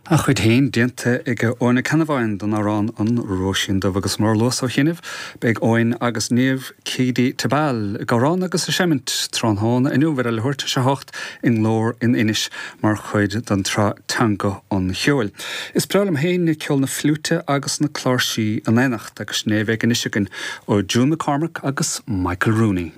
A chuid féin déanta ag Eoin Ó Ceannabháin den amhrán An Róisín Dubh agus mar a luas ó chianaibh, beidh Eoin agus Niamh Keady Tebal ag amhrán agus ag seimint tráthnóna inniu ar a leathuair tar éis a hocht i nGlór in Inis mar chuid den tsraith Teanga an Cheoil. Is breá liom féin ceol na fliúite agus na cláirsí in éineacht agus sin é a bheidh anois againn ó June McCormack agus Michael Rooney.